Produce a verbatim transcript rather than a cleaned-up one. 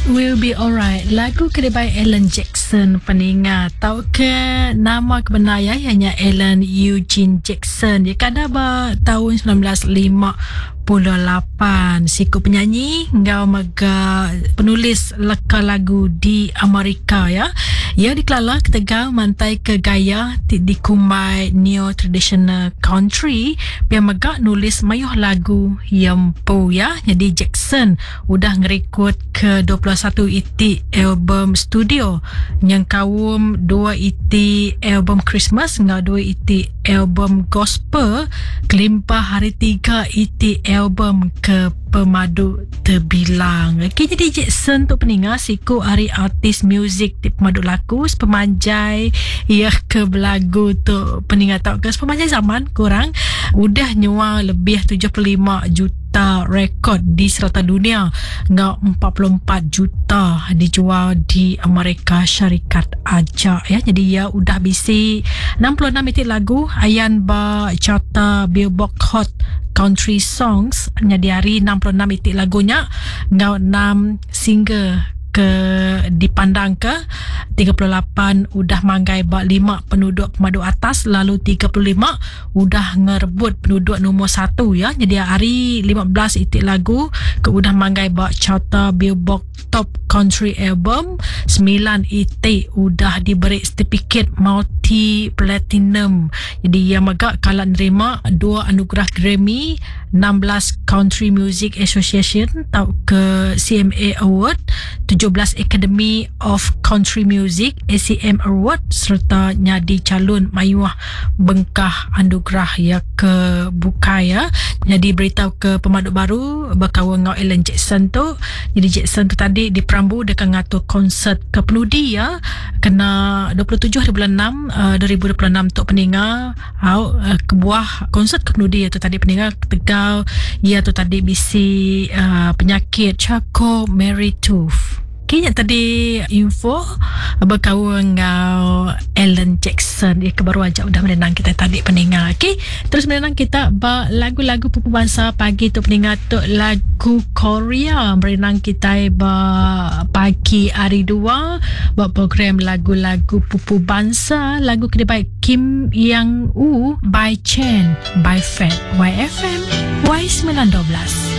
Will Be Alright. Lagu ke by Alan Jackson peninga. Tau ke nama kebenar ya ianya Alan Eugene Jackson. Dia kada ba tahun seribu sembilan ratus lima puluh lapan. Siku penyanyi ngau mega penulis leka lagu di Amerika ya. Ia dikelala ketegal mantai ke gaya ti dikumbai neo traditional country. Pia mega nulis mayuh lagu yempu ya. Jadi Jackson udah ngerekod ke dua puluh satu iti album studio yang kaum dua iti album Christmas ngau dua iti album gospel, kelimpah hari tiga iti album ke pemadu terbilang. Okey, jadi Jackson tu peninga siku hari artis muzik ti pemadu laku sepemanjai ia ke belagu tu peninga tau ke sepemanjai zaman kurang udah nyual lebih tujuh puluh lima juta rekod di serata dunia ngau empat puluh empat juta dijual di Amerika Syarikat aja ya. Jadi ia udah bisi enam puluh enam itik lagu ayan ba carta Billboard Hot Country Songs jadi hari enam puluh enam itik lagunya ngau enam single ke dipandang ke tiga puluh lapan udah manggai ba lima penduduk pemadu atas, lalu tiga puluh lima udah ngerebut penduduk nombor satu ya. Jadi hari lima belas itik lagu ke udah manggai ba carta Billboard Top Country Album, sembilan itik udah diberi sertifikat multi platinum. Jadi ia megak kalau nerima dua anugerah Grammy, enam belas Country Music Association atau ke C M A Award, tujuh belas Academy of Country Music A C M Award serta nyadi calon mayuah bengkah anugerah ya ke bukai ya. Jadi beritahu ke pemaduk baru berkawan dengan Alan Jackson tu. Jadi Jackson tu tadi di Perambu dekat ngatur konsert ke penudi ya kena dua puluh tujuh bulan enam uh, dua ribu dua puluh enam untuk peninga au uh, kebuah konsert ke penudi tu tadi peninga Tegal ia tu tadi bisi uh, penyakit Charcot Marie Tooth. Kini tadi info berkawan dengan Alan Jackson. Ia kebaru aja udah menenang kita tadi peninga. Okey, terus menenang kita ba lagu-lagu pupu bangsa pagi tu peninga tu lagu Korea merenang kita ba pagi hari dua buat program lagu-lagu pupu bangsa, lagu kedai Kim Yang Woo by Chen by Fat Y F M Y sembilan dua belas.